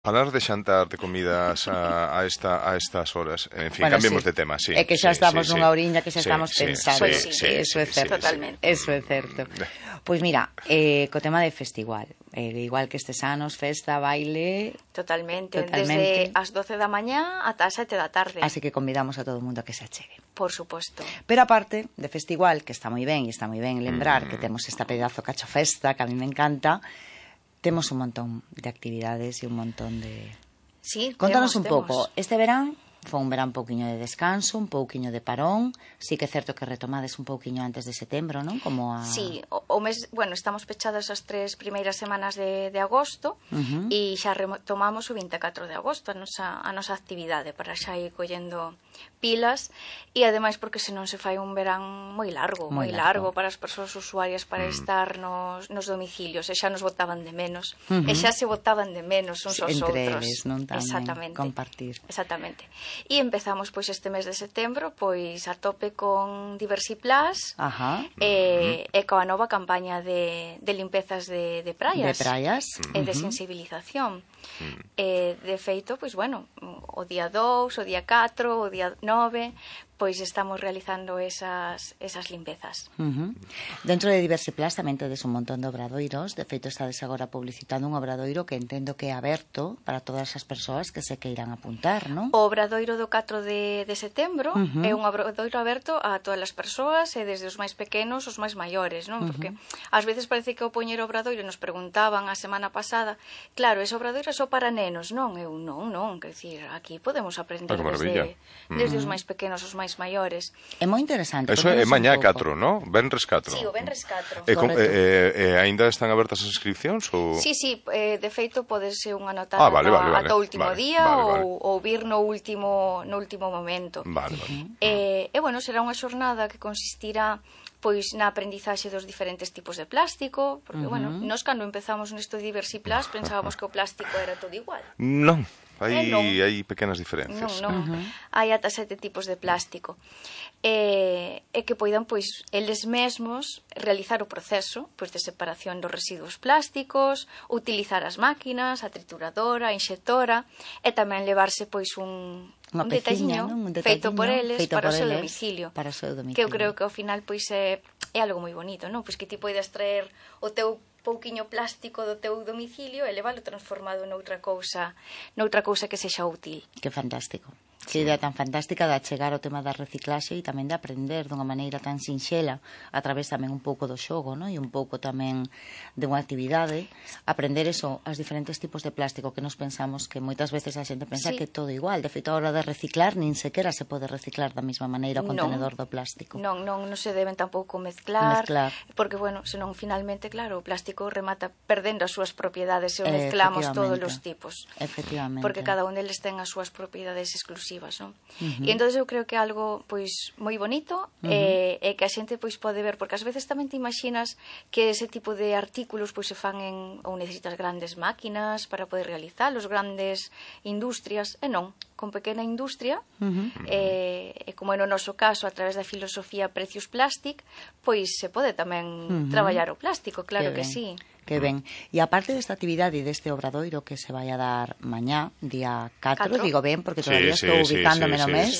Falar de xantar, de comidas a estas horas. En fin, Bueno, cambiemos sí. de tema, sí. É que xa estamos nunha sí. oriña que xa estamos pensando. Pois sí, Eso é certo. totalmente. Eso é certo. Pois mira, co tema de festival, igual que estes anos, festa, baile... Totalmente. Desde as 12 da mañá ata as 7 da tarde. Así que convidamos a todo o mundo a que se achegue. Por suposto. Pero aparte de festival, que está moi ben, e está moi ben lembrar que temos esta pedazo cacho festa, que a mí me encanta, temos un montón de actividades e un montón de... Sí, Contanos un temos. pouco, este verán foi un verán pouquiño de descanso, un pouquiño de parón, sí que é certo que retomades un pouquiño antes de setembro, non? Como a... Sí, o mes, bueno, estamos pechados as 3 primeiras semanas de agosto e xa retomamos o 24 de agosto a nosa actividade para xa ir collendo pilas e ademais porque senón se fai un verán moi largo para as persoas usuarias para estar nos domicilios e xa nos botaban de menos e xa se botaban de menos uns aos outros. Entre eles, non tamén, exactamente, compartir. Exactamente. E empezamos pois este mes de setembro pois a tope con Diversiplus e coa nova campaña de limpezas de praias. De praias. E de sensibilización. De feito, pois bueno, o día 2, o día 4, o día 9, pois estamos realizando esas limpezas. Dentro de Diversiplus tamén tedes un montón de obradoiros. De feito, estades agora publicitando un obradoiro que entendo que é aberto para todas as persoas que se queiran apuntar, non? O obradoiro do 4 de setembro é un obradoiro aberto a todas as persoas e desde os máis pequenos aos máis maiores, non? Porque ás veces parece que ao poñer o obradoiro nos preguntaban a semana pasada, claro, ese obradoiro é só para nenos, non? Eu non, quer dicir, aquí podemos aprender desde os máis pequenos aos máis maiores. É moi interesante. Eso é mañá 4, non? Venres 4. Sí, o Venres 4. Aínda están abertas as inscripcións? Sí, de feito podese unha anotar vale, ata o último día vale. ou vir no último momento. Vale. E bueno, será unha xornada que consistirá pois na aprendizaxe dos diferentes tipos de plástico, porque, bueno, nós cando empezamos nesto de Diversiplus pensábamos que o plástico era todo igual. Non, hai pequenas diferencias. Non, hai ata 7 tipos de plástico. E que poidan, pois, eles mesmos realizar o proceso pois de separación dos residuos plásticos, utilizar as máquinas, a trituradora, a inxectora, e tamén levarse, pois, un detalliño feito por eles para o seu domicilio. Que eu creo que ao final pois é algo moi bonito, non? Pois que ti poidas traer o teu pouquiño plástico do teu domicilio e leválo transformado noutra cousa que sexa útil. Que fantástico. Que idea tan fantástica de achegar o tema da reciclaxe e tamén de aprender dunha maneira tan sinxela a través tamén un pouco do xogo, non? E un pouco tamén de unha actividade, aprender eso, as diferentes tipos de plástico que nos pensamos que moitas veces a xente pensa que é todo igual. De feito, a hora de reciclar, nin sequera se pode reciclar da mesma maneira o contenedor do plástico. Non se deben tampouco mezclar, porque, bueno, senón finalmente, claro, o plástico remata perdendo as súas propiedades se o mezclamos todos os tipos. Efectivamente. Porque cada un deles ten as súas propiedades exclusivas. Non? E entón eu creo que é algo pois moi bonito e que a xente pois pode ver, porque ás veces tamén te imaginas que ese tipo de artículos pois se fan ou necesitas grandes máquinas para poder realizalos, grandes industrias, e non, con pequena industria e como é no noso caso a través da filosofía Precious Plastic, pois se pode tamén traballar o plástico, claro que sí. Que ben. E aparte desta actividade e deste obradoiro que se vai a dar mañá, día 4, digo ben, porque todavía estou ubicándome no mes,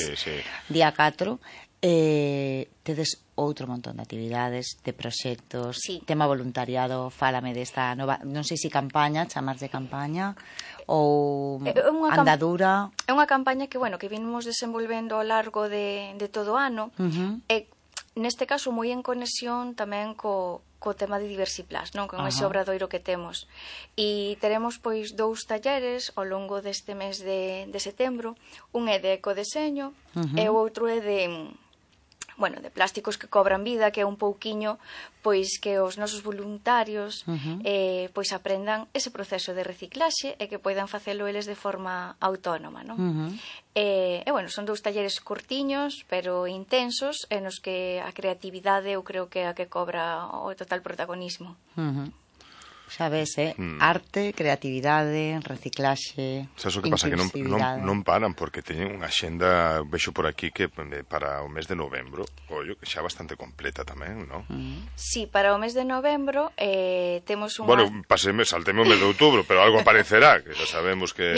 día 4, tedes outro montón de actividades, de proxectos, tema voluntariado, fálame desta nova, non sei se campaña, chamarlle campaña, ou andadura. É unha campaña que, bueno, que vimos desenvolvendo ao largo de todo o ano, e neste caso moi en conexión tamén co tema de Diversiplus, non? Con ese obradoiro que temos. E teremos, pois, 2 talleres ao longo deste mes de setembro. Un é de ecodeseño e o outro é de plásticos que cobran vida, que é un pouquiño, pois, que os nosos voluntarios pois aprendan ese proceso de reciclaxe e que poidan facelo eles de forma autónoma, non? E, bueno, son 2 talleres cortiños, pero intensos, e nos que a creatividade eu creo que é a que cobra o total protagonismo. Sabes, arte, creatividade, reciclaxe, sabes o que pasa? Que non paran, porque teñen unha xenda, vexo por aquí, que para o mes de novembro, ollo, que xa bastante completa tamén, non? Sí, para o mes de novembro temos unha... Bueno, salteme o mes de outubro, pero algo aparecerá, que xa sabemos que...